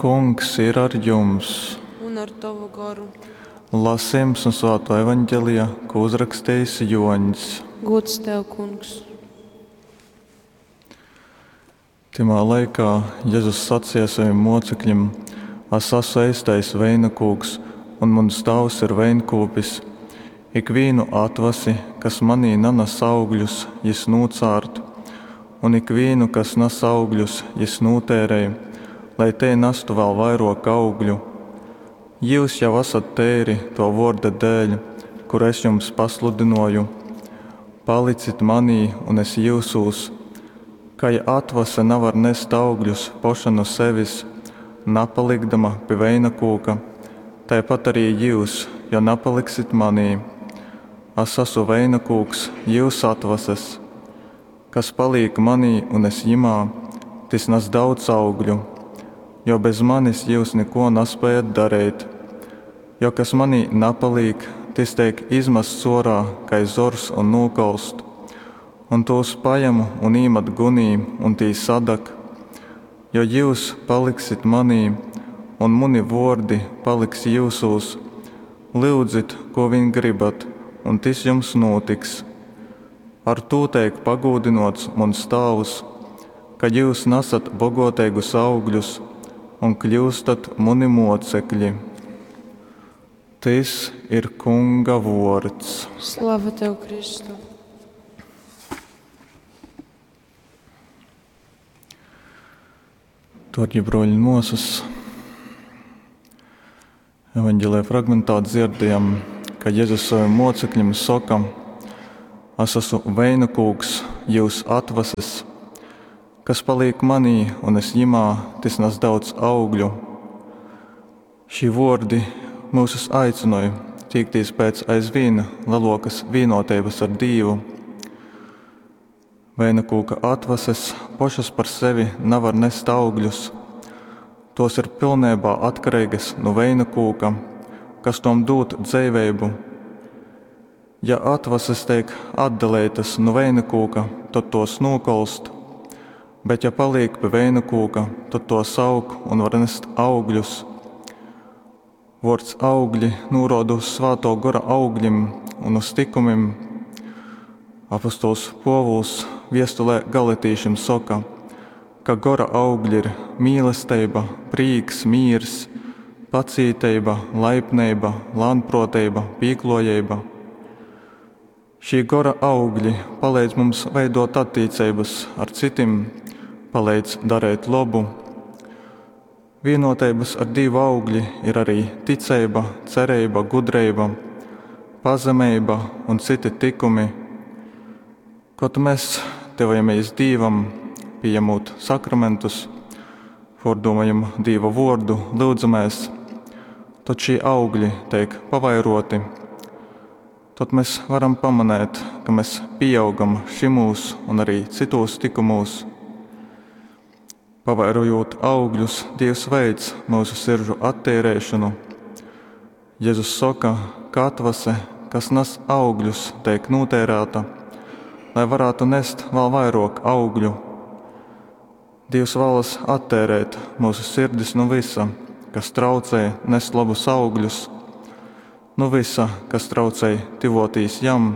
Kungs ir ar jums! Un ar tovu goru. Lasījums no Svēto evaņģelija, ko uzrakstījis Joņs. Gods tev, kungs! Tymā laikā Jezus sacīja saviem mocekļiem: Es esmu eistais veinakūks, un mans tēvs ir veinkūpis. Ikvīnu atvasi, kas manī nanes augļus, jis nūcārt, un ikvīnu, kas nes augļus, jis nūtērēj, lai te nestu vēl vairāk augļu. Jūs jau esat teiri to vorda dēļ, kur es jums pasludinoju. Palicit manī, un es jūsūs. Kai atvase nevar nest augļus poša no sevis, napalikdama pie veina kūka, tāpat arī jūs, ja nepaliksit manī. Es esmu veina kūks, jūs atvases. Kas paliek manī un es jimā, tis nes daudz augļu, jo bez manis jūs neko nespējat darīt. Jo kas manī napaliek, tis teik izmests orā, kai zors un nūkolst. Un tos paņemu un īmet gunī, un tī sadag. Jo jūs paliksit manī, un muni vordi paliks jūsūs, lyudzit, ko vien gribat, un tis jums notiks. Ar tū teik pagūdinots muns tāvs, ka jūs nesat bogoteigus augļus un kļūstat muni mocekļi. Tis ir Kunga vords. Slava tev, Kristu! Dārgie broļi un māsas, evanģēlijā fragmentā dzirdējam, ka Jēzus saviem mocekļiem saka: Es esmu veina kūks, jūs atvases. Kas paliek manī un es jimā, tis nes daudz augļu. Šī vordi mūsus aicināja tīkties pēc aizvien lielākas vienotības ar Dievu. Veina kūka atvases pašas par sevi nevar nest augļus. Tos ir pilnībā atkarīgas no veina kūka, kas tom dod dzīvību. Ja atvases tiek atdalītas no veina kūka, tad tos nokolst, bet ja paliek pie veina kūka, tad tos aug un var nest augļus. Vārds augļi norāda uz svēto gora augļiem un uz tikumiem. Apostols Povuls viestulē galatīšiem saka, ka gora augļi ir mīlestība, prīks, mīrs, pacīteiba, laipnība, lānproteiba, pīklojība. Šī gora augļi palīdz mums veidot attiecības ar citiem, palīdz darīt labu. Vienotības ar Dievu augļi ir arī ticība, cerība, gudrība, pazemība un citi tikumi. Kad mēs tuvojamies Dievam, pieņemot sakramentus, pārdomājam Dieva vārdu, lūdzamies, tad šie augļi tiek pavairoti. Tad mēs varam pamanīt, ka mēs pieaugam šimūs un arī citos tikumos. Pavairojot augļus, Dievs veic mūsu siržu attīrēšanu. Jēzus saka, ka atvase, kas nes augļus, tiek notērēta, lai varētu nest vēl vairāk augļu. Dievs vēlas attērēt mūsu sirdis no visa, kas traucē nest labus augļus, no visa, kas traucē tivotīs jam.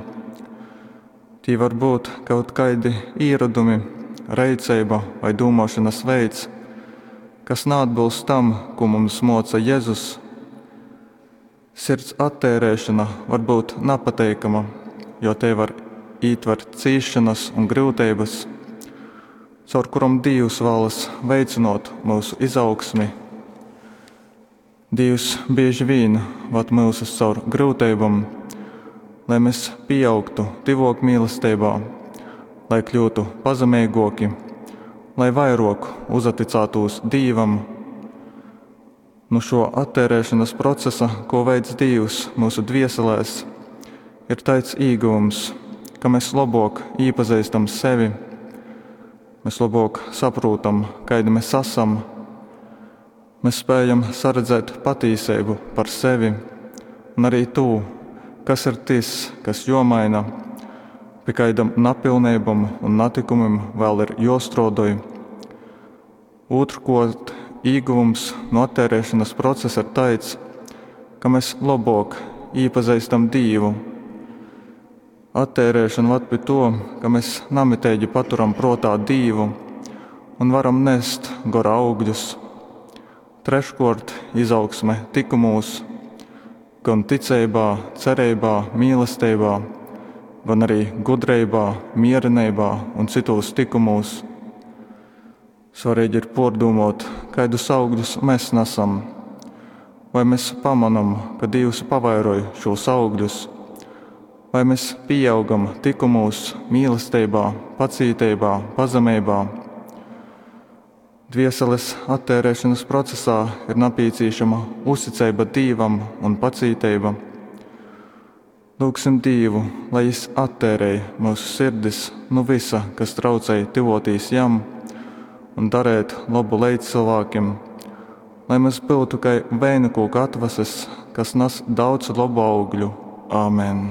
Tī var būt kaut kādi ieradumi, reiceiba vai domāšanas veids, kas neatbilst tam, ko mums moca Jēzus. Sirds attērēšana var būt nepateikama, jo te var ītvert cīšanas un grūtības, caur kuram Dievs vēlas veicinot mūsu izaugsmi. Dievs bieži vien vad mūsus caur grūtībām, lai mēs pieaugtu tuvāk mīlestībā, lai kļūtu pazemīgāki, lai vairāk uzaticētos Dievam. Nu šo attērēšanas procesa, ko veids Dievs mūsu dvieselēs, ir tāds ieguvums, ka mēs labāk iepazīstam sevi, mēs labāk saprotam, kādi mēs esam. Mēs spējam saredzēt patīsību par sevi un arī to, kas ir tas, kas jomaina, pie kādam napilnībam un natikumam vēl ir jostrodoj. Otrkārt, Īguvums nu atteireišonas procesa ir taids, ka mes lobōk īpazeistam Dīvu. Atteireišona vad pi tō, ka mes namiteigi paturam prōtā Dīvu un varam nest gora augļus. Treškōrt, izaugsme tykumūs, gon ticeibā, cereibā, mīlesteibā, gon arī gudreibā, miereneibā un cytūs tykumūs. Svareigi ir pōrdūmōt, kaidus augļus mes nasam. Vai mes pamonom, ka Dīvs pavairoj šūs augļus? Vai mes pīaugam tykumūs, mīlesteibā, pacīteibā, pazemeibā? Dvieseles atteireišonas procesā ir napīcīšama uzticeiba Dīvam un pacīteiba. Lyugsim Dīvu, lai Jis atteirej myusu sirdis nu vysa, kas traucej tyvōtīs Jam un darēt lobu leidzcylvākim, lai mes byutu kai veinakūka atvases, kas nas daudz lobu augļu. Āmen.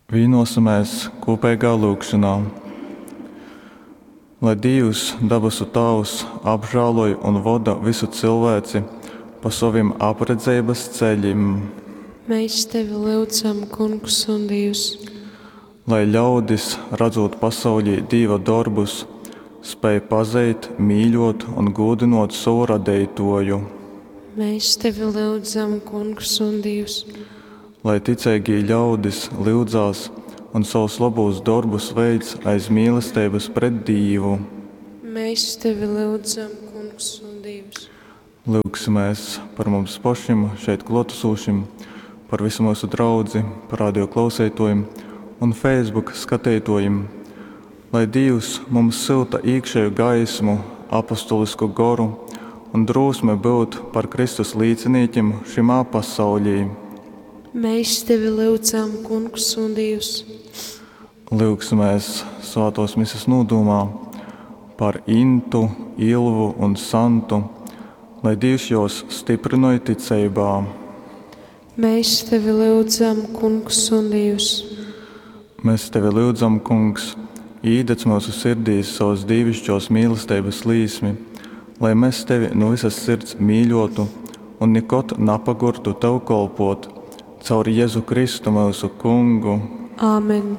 Vīnosimies kūpeigā lūgšanā. Lai Dīvs, dabasu Tāvs, apžēloj un voda visu cilvēci pa sovim apredzeibas ceļim. Mēs tevi lyudzam, Kungs un Dievs. Lai ļaudis, radzūt pasaulī Dīva dorbus, spēj pazeit, mīļot un gūdynot sovu Radeituoju. Mēs tevi lyudzam, Kungs un Dievs. Lai ticeigī ļaudis lyudzās un savus lobūs dorbus veic aiz mīlesteibys pret Dīvu. Mēs tevi lyudzam, Kungs un Dievs. Lyugsimies par mums pašim šeit kluotesošim, par visu mūsu draudzi, par radio klauseituojim un Facebook skateituojim. Lai Dīvs mums syuta īkšēju gaismu, apostolisku goru un drūsmi būt par Kristus līcinīkim šymā pasaulī. Mēs tevi lyudzam, Kungs un Dievs. Lyugsimies Svātōs Mises nūdūmā par Intu, Ilvu un Santu, lai Dīvs jūs styprynoj ticeibā. Mēs tevi lyudzam, Kungs un Dievs. Mēs tevi lyudzam, Kungs, īdedz mūsu sirdīs savas dīvišķos mīlesteibas līsmi, lai mēs tevi nu visas sirds mīļotu un nikod napagurtu tev kolpot. Caur Jēzu Kristu mūsu Kungu. Āmen.